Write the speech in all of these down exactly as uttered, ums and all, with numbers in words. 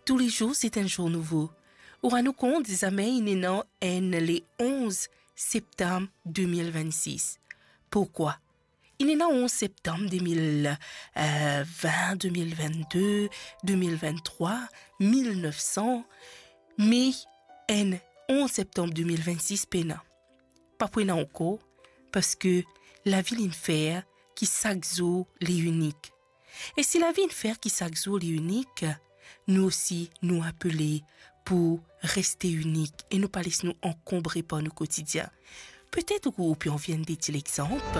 Tou les jours, c'est un jour nouveau. Ou rann ou kont, zame inn ena enn le onze septam de mil vennsis. Pourkwa? Inn ena onze septam de mil vin, de mil vennde, de mil venntrwa, mil nef san, me enn onze septam de mil vennsis pena. Pa pou ena ankor, parski lavi inn fer ki sak zour li inik. E si lavi inn fer ki sak zour li inik, nou osi nou apele pou reste inik e nou pa les nou ankonbre par nou kotidien. Petet ou, ou pe anvi enn de ti lexanp.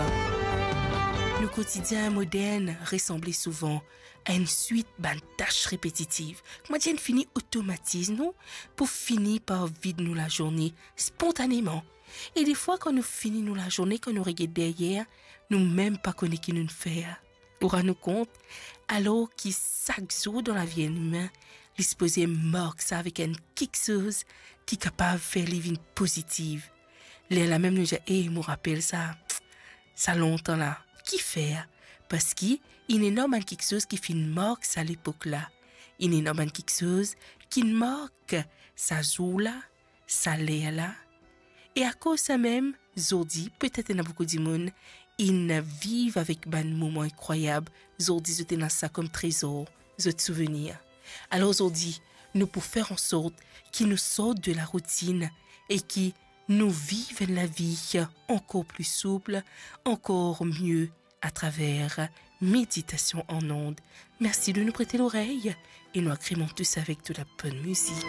Nou kotidien modern resanble souvan a enn swit bann tas repetitiv. Kouma dir, enn fini otomatizm nou pou fini par vid nou lazourne spontaneman. E defwa, kan nou fini nou lazourne, kan nou reget deryer, nou mem pa kone ki nou fer. Ou rann ou kont, alor ki sak zour dan lavi enn imin, li sipoze mark sa avek enn kiksoz ki kapav fer li vinn pozitiv. Lerla mem nou dir, "E, mo rapel sa, sa lontan la." Kifer? Parski inn ena bann kiksoz ki finn mark sa lepok la. Inn ena bann kiksoz ki mark sa zour la, sa ler la. E akoz sa mem, zordi, petet ena boukou dimoun inn viv avek bann moman inkrwayab, zordi zot ena sa kom trezor, zot souvenir. Alor zordi, nou pou fer ansort ki nou sort de la routine e ki nou viv enn lavi ankor pli soup, ankor mie atraver Méditation en ondes. Mersi de nou prete lorey e nou agrement tou sa avek de la bonn mizik.